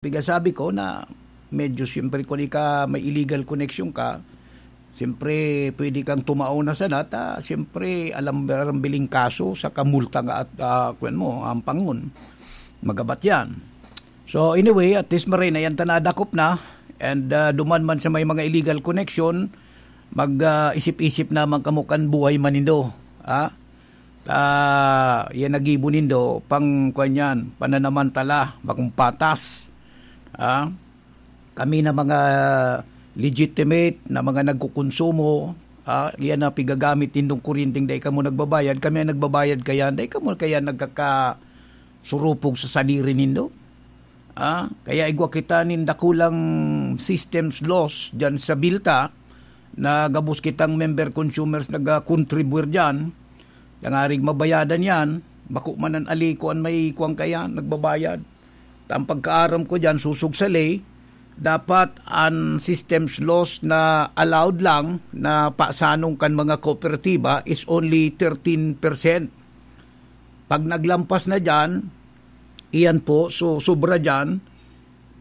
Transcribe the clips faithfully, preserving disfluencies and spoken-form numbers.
Piga sabi ko na medyo siyempre kung ika may illegal connection ka, siyempre pwede kang tumao na sana ta siyempre alam arambiling kaso sa kamulta nga at ah, kwan mo, ampangon. Magabat yan. So anyway, at least maray na yan ta nadakop na. And ah, duman man sa may mga illegal connection, mag ah, isip-isip naman kamo kan buhay man nindo. Ha? Ah, yan nagibo nindo, pang kwan yan, pananamantala, bakong patas. Ah, kami na mga legitimate na mga nagkukonsumo, ah, yan na pigagamit nindong kuryenteng dai kamo nagbabayad, kami ang nagbabayad kaya, dai kamo kaya nagkakasurupog sa sadiri nindo. Ah, kaya igwa kita nin dakulang systems loss dyan sa bilta na gabos kitang member consumers nag-contribute dyan. Tangarig mabayadan yan, bako man an ali ko an may kuwang kaya, nagbabayad. Ta ang pagkaaram ko diyan, susog sa ley, dapat an systems loss na allowed lang na pasanong kan mga kooperatiba is only thirteen percent. Pag naglampas na diyan, iyan po, so sobra diyan,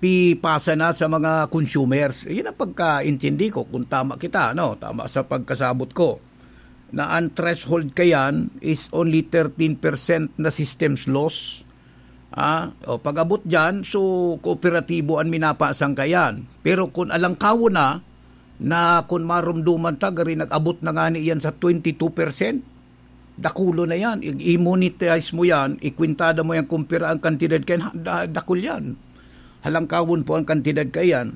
pipasa na sa mga consumers. Iyan ang pagkaintindi ko kung tama kita, no? Tama sa pagkasabot ko. Na ang threshold kayan is only thirteen percent na systems loss. Ah, o pag-abot diyan, so kooperatibo an minapasang kayan. Pero kung alangkawon na, na kung marumduman ta, gari nag-abot na nga ni iyan sa twenty-two percent, dakulo na yan. I-, i-monetize mo yan, ikwintada mo yan kung pira ang kantidad kayan, ha, da-, dakul yan. Halangkawon po ang kantidad kayan.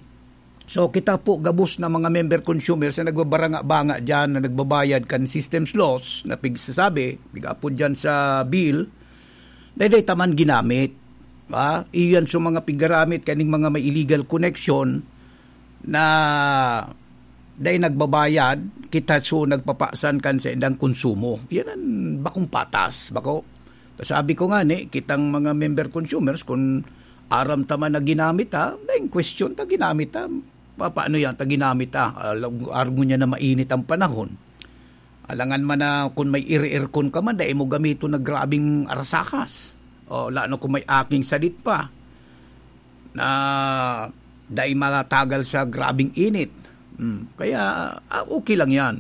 So, kita po gabos na mga member consumers na nagbabaranga-banga dyan, na nagbabayad kan systems loss, na pigsasabi, pigapod dyan sa bill, dahil taman ginamit. Ah, iyan sa mga pigaramit kaning mga may illegal connection na dai nagbabayad, kita so nagpapasan kan sa indang konsumo. Yan ang bakong patas, bako. Ta sabi ko nga ni, kitang mga member consumers, kung aram ta man na ginamit ta, daing question ta ginamit ta. Pa, paano yan ta ginamit ta? Alam, argo niya na mainit ang panahon. Alangan man na kung may iri-aircon ka man, dai mo gamiton na grabing arasakas. O, lalo kung may aking sadit pa na dai matagal sa grabing init. Hmm, kaya ah, okay lang yan.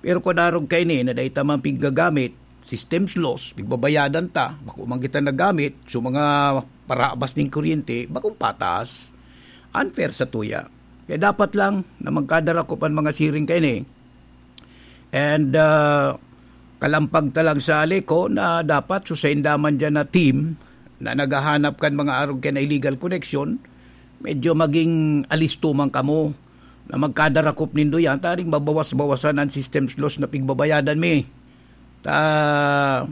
Pero kung darog kaini na dai ta man piggagamit, systems loss, pigbabayadan ta, bako man kita nagamit, so mga parabas ning kuryente, bakong patas, unfair sa tuya. Kaya dapat lang na magkadarakop an mga siring kaini. And ah, kalampag ta lang sa Aleco na dapat susainda man dyan na team na naghahanap kan mga arog kan illegal connection, medyo maging alisto man kamo na magkadarakop nindo yan, taring mabawas-bawasan ang systems loss na pigbabayadan mi. Ta,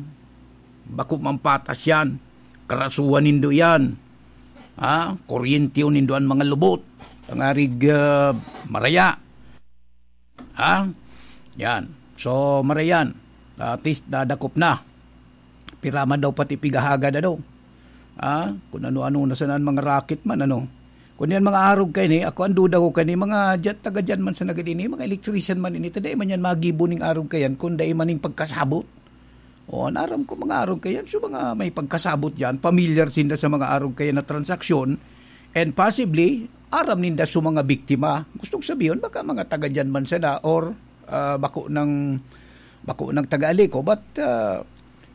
bako man patas yan. Karasuhan nindo yan. Ha? Kuryente nindo an mga lubot. Tangarig ah, maraya. Ha? Yan. So, marayan. At least, nadakop na. Pira man daw pati pigahagad, ano? Ha? Kung ano-ano na sana ang mga racket man, ano? Kung yan mga arog kaini, ako ang duda ko kaini, mga dyan, taga dyan man sa nagad ini, mga electrician man ini, ta dai man yan magibo ning arog kayan, kung dai man ning pagkasabot. O, an aram ko mga arog kayan, so mga may pagkasabot dyan, familiar sinda sa mga arog kayan na transaksyon, and possibly, aram ninda sa mga biktima. Gustong sabihin, baka mga taga dyan man sana, or ah, bako ng, bako ng taga Aleco, but ah,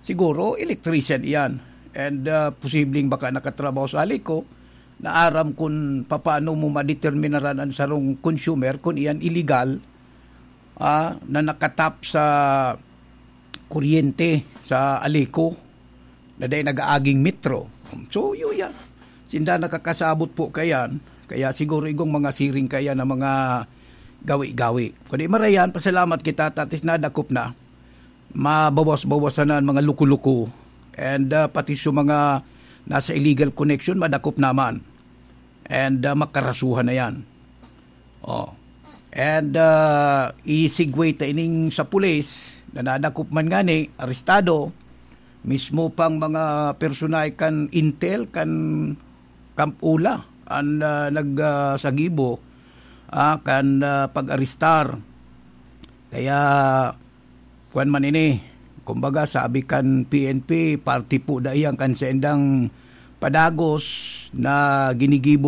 siguro electrician iyan. And ah, posibleng baka nakatrabaho sa Aleco, na aram kung papaano mo madeterminaran ang sarong consumer kung iyan illegal ah, na nakatap sa kuryente sa Aleco na dai nag-aaging metro. So, yun yan. Sinda nakakasabot po kayan. Kaya siguro igong mga siring kaya na mga gawi-gawi. Kundi marayan, pasalamat kita, tatis nadakop na. Mabawas-bawasan na ang mga luko-luko. And ah, pati sa mga nasa illegal connection, madakop naman. And ah, makarasuhan na yan. Oh. And ah, i-segue ta ining sa pulis na nadakop man ngani, arestado, mismo pang mga personahe kan Intel, kan Camp Ula, an ah, nag ah, sagibo ah, kan ah, pag-arestar. Kaya, kuwan man ini, kumbaga, sabi kan P N P, party po da iyan kan saindang padagos na ginigibo